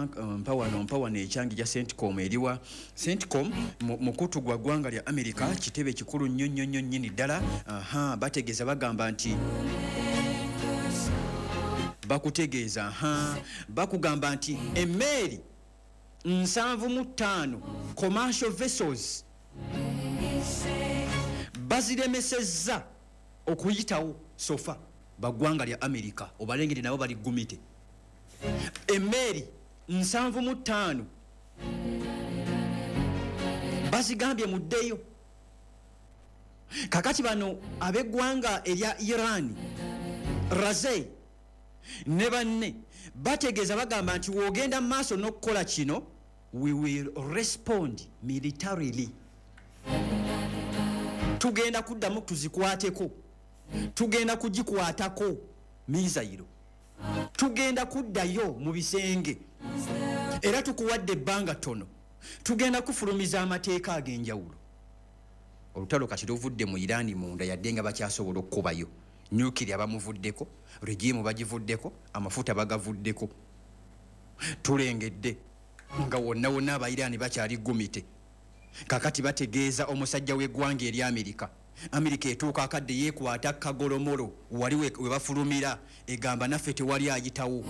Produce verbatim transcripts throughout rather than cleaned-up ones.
Mpa wano, mpa wano ekyange gya CENTCOM. Eriwa CENTCOM? Mukutu gwa ggwanga lya America, kitebe kikulu nnyo nnyo nnyo nnyini ddala. Aha, bategeeza, bagamba nti bakutegeeza, aha, bakugamba nti emmeeri nsanvu mu ttaano, commercial vessels, baziremesezza okuyitawo. So far baggwanga lya America obalengere nabo bali gumite. Emmeeri nsanvu mu ttaano bazigambye muddeyo. Kakati bano ab'eggwanga erya Iran, Raze ne banne, bategeeza, bagamba nti wogenda mu maaso n'okukola kino, we will respond militarily. Tugenda kuddamu tuzikwateko, tugenda kugikwatako missile, tugenda kuddayo mu bisenge, era tukuwadde ebbanga ttono, tugenda kufulumiza amateeka ag'enjawulo. Olutalo kati luvudde mu Iraani munda, yadde nga bakyasobola okukubayo nuclear. Bamuvuddeko, regime bagivuddeko, amafuta bagavuddeko. Tulengedde nga wonna wonna Abairaani bakyali gumite. Kakati bategeeza omusajja w'eggwanga eri Amerika. Amerika etuuka akadde yeekwata kagolomolo wali we we bafulumira, egamba naffe tewali ayitawo.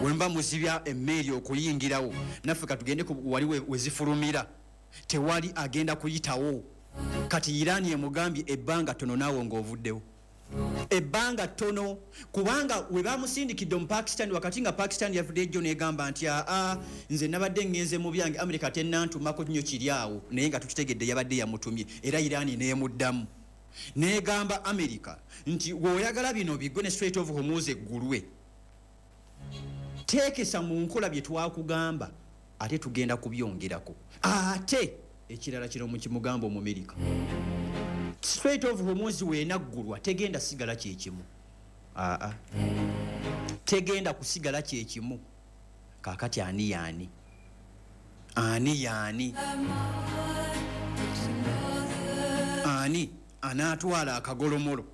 Wemba muzibya emmeeri okuyingirawo, naffe katugende ku wali we we zifulumira, tewali agenda kuyitawo. Kati Iraani emugambye ebbanga ttono naawe ng'ovuddewo, ebbanga ttono, kubanga we bamusindikidde mu Pakistan, wakati nga Pakistan yavudde ejjo negamba nti aa, nze nabadde ngenze mu byange, Amerika tennantumako nnyo kiri awo, naye nga tukitegedde yabadde yamutumye. Era Iraani nemuddamu negamba Amerika nti bw'oyagala bino biggwe ne Strait of Hormuz eggulwe, teekesa mu nkola bye twakugamba, ate tugenda kubyongerako. Ate ekirala kino mukimugamba Omumerika, Strait of Hormuz weenaggulwa tegenda sigala kyekimu. Aa, tegenda kusigala kyekimu. Kakati ani yaani, ani yaani, ani anaatwala akagolomolo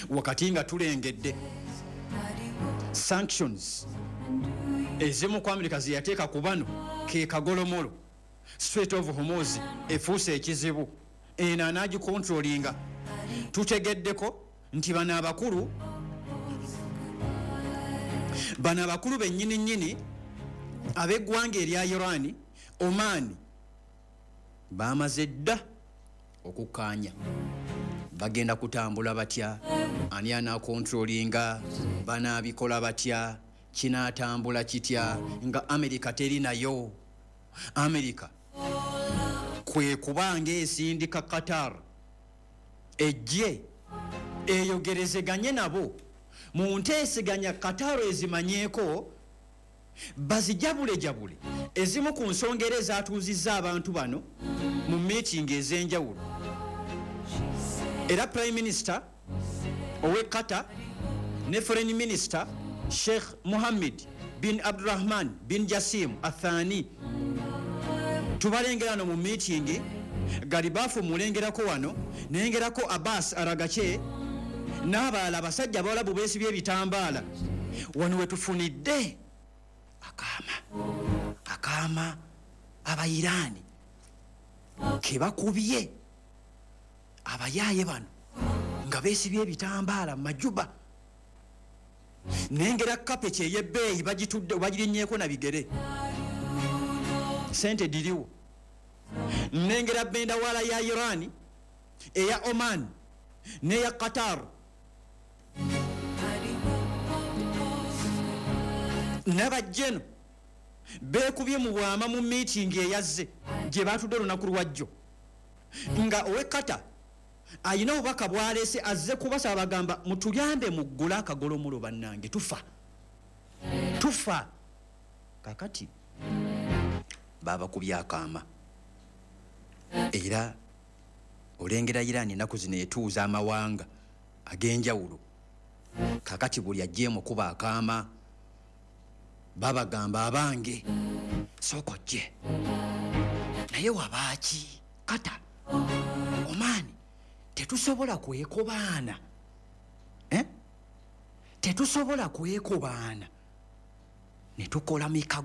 wakati nga tulengedde sanctions ezimu ku Amerika zeyateeka ku bano? Ke kagolomolo. Strait of Hormuz efuuse ekizibu, eno anaagikontrolinga? Tutegeddeko nti bano abakulu, bano abakulu bennyini nnyini ab'eggwanga erya Iran, Oman, bamaze dda okukkaanya bagenda kutambula batya, ani anaakontrolinga, banaabikola batya, kinaatambula kitya nga Amerika teri nayo. Amerika kwe kubanga esindika Qatar ejje eyogerezeganye nabo mu nteeseganya. Qatar ezimanyeeko, bazijabulejabule ezimu ku nsonga era ezatuuzizza abantu bano mu meeting ez'enjawulo. Era Prime Minister owe Qatar ne Foreign Minister Sheikh Muhammad bin Abdurahman bin Jasim Athani tubalengera no mu meeting. Galibafu mulengerako wano, nengerako Abbas Araghchi n'abalala, abasajja abawalabu beesibye ebitambaala. Wano wetufunidde akaama akaama Abairaani kebakubye abayaaye bano nga beesibye ebitambaala mu majuba. Nengera kapeki ey'ebbeeyi bagitudde, bagirinnyeeko na bigere, sente diriwo. Nengera bendawala ya Iran, eya Oman n'eya Qatar n'abajjeno beekubye mu bwama mu meeting eyazze gye batudde olunaku lwajjo, nga owe Qatar ayina obubaka bwaleese, azze kubasaba, bagamba mutuyambe muggule akagolomulo, bannange tufa, tufa. Kakati babakubye akaama. Era olengera Iran ennaku zino etuuza amawanga ag'enjawulo. Kakati buli ajja emukuba akaama, babagamba abange sooka ojje. Naye wabaaki kata Omaani tetusobola kwekobaana, eh? Tetusobola kwekobaana. Ne tukola mikago.